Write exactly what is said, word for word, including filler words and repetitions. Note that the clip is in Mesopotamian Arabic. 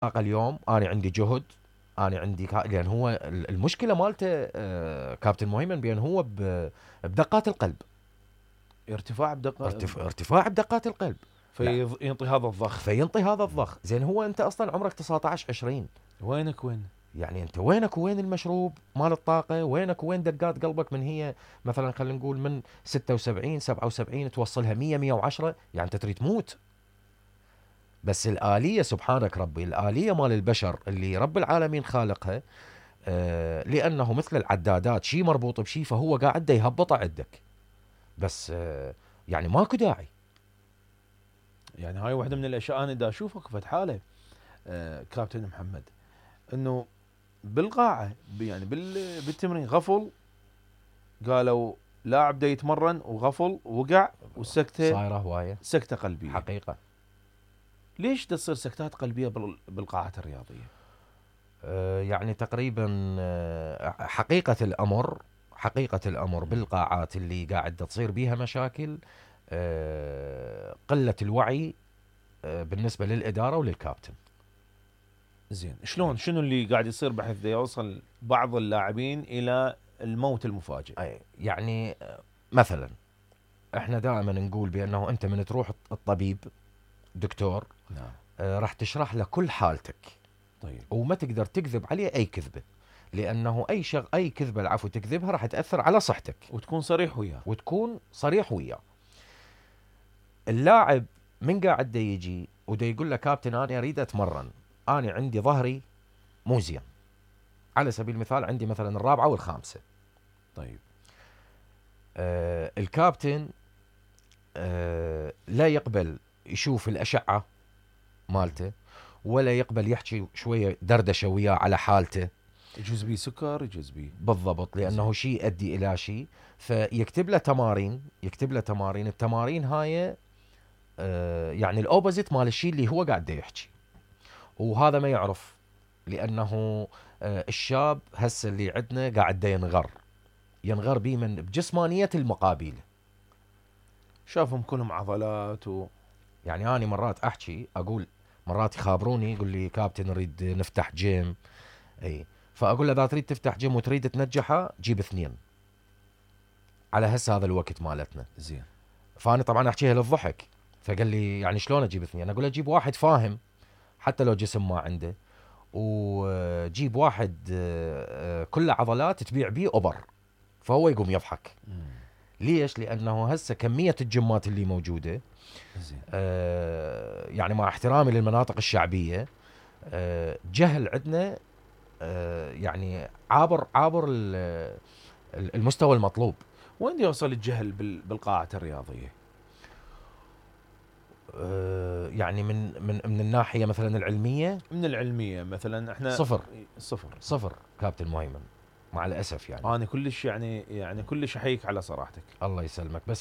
طاقة اليوم أنا عندي جهد، أنا عندي كا... لأن هو المشكلة مالته آه كابتن مهيمن بأن هو ب... بدقات القلب، ارتفاع بدقات ارتف... ارتفاع بدقات القلب، فينطي هذا الضخ فينطي هذا الضخ. زين هو أنت أصلا عمرك تسعة عشر عشرين، وينك وين؟ يعني أنت وينك وين المشروب مال الطاقة؟ وينك وين دقات قلبك من هي مثلا خلينا نقول من ستة وسبعين سبعة وسبعين توصلها مية مية وعشرة، يعني أنت تريد تموت. بس الآلية سبحانك ربي، الآلية مال البشر اللي رب العالمين خالقها، آه لأنه مثل العدادات شيء مربوط بشيء، فهو قاعد دا يهبط عندك. بس آه يعني ماكو داعي. يعني هاي واحدة من الأشياء أنا دا أشوفك في حالة آه كابتن محمد، إنه بالقاعة يعني بالتمرين غفل، قالوا لاعب دا يتمرن وغفل وقع والسكتة صايرة هواية سكتة قلبية حقيقة. ليش تصير سكتات قلبية بالقاعات الرياضية؟ آه يعني تقريبا آه حقيقة الأمر حقيقة الأمر بالقاعات اللي قاعد تصير بيها مشاكل، آه قلة الوعي آه بالنسبة للإدارة وللكابتن. زين شلون شنو اللي قاعد يصير بحيث يوصل بعض اللاعبين إلى الموت المفاجئ؟ يعني مثلا احنا دائما نقول بأنه أنت من تروح الطبيب دكتور، نعم، آه راح تشرح له كل حالتك، طيب، وما تقدر تكذب عليه أي كذبة، لأنه أي شغ أي كذبة العفو تكذبها راح تأثر على صحتك، وتكون صريح وياه وتكون صريح وياه. اللاعب من قاعد دا يجي ودا يقول له كابتن أنا أريد أتمرن، أنا عندي ظهري مو زين، على سبيل المثال عندي مثلا الرابعة والخامسة، طيب، آه الكابتن آه لا يقبل يشوف الأشعة مالته، ولا يقبل يحكي شوية دردشة وياه على حالته، يجوز بيه سكر يجوز بيه بالضبط، لأنه شيء يؤدي إلى شيء، فيكتب له تمارين يكتب له تمارين التمارين هاي آه يعني الأوبوزيت مال الشيء اللي هو قاعد يحكي، وهذا ما يعرف، لأنه آه الشاب هسه اللي عندنا قاعد ينغر ينغر بيه من بجسمانية المقابل، شافهم كلهم عضلات و... يعني أنا مرات أحكي أقول، مرات يخابروني يقول لي كابتن نريد نفتح جيم، أي فأقول له إذا تريد تفتح جيم وتريد تنجحه جيب اثنين على هسه هذا الوقت مالتنا. زين، فأنا طبعا أحكيها للضحك، فقال لي يعني شلون أجيب اثنين؟ أقول له جيب واحد فاهم حتى لو جسم ما عنده، وجيب واحد كله عضلات تبيع بيه أوبر، فهو يقوم يضحك. مم. ليش؟ لأنه هسه كمية الجيمات اللي موجودة، زين، آه يعني مع احترامي للمناطق الشعبية، آه جهل عندنا، آه يعني عابر عابر المستوى المطلوب. وين يوصل الجهل بالقاعة الرياضية؟ آه يعني من من من الناحية مثلا العلمية، من العلمية مثلا احنا صفر صفر صفر كابتن مهيمن، مع الأسف يعني. أنا كلش يعني يعني كلش أحييك على صراحتك. الله يسلمك. بس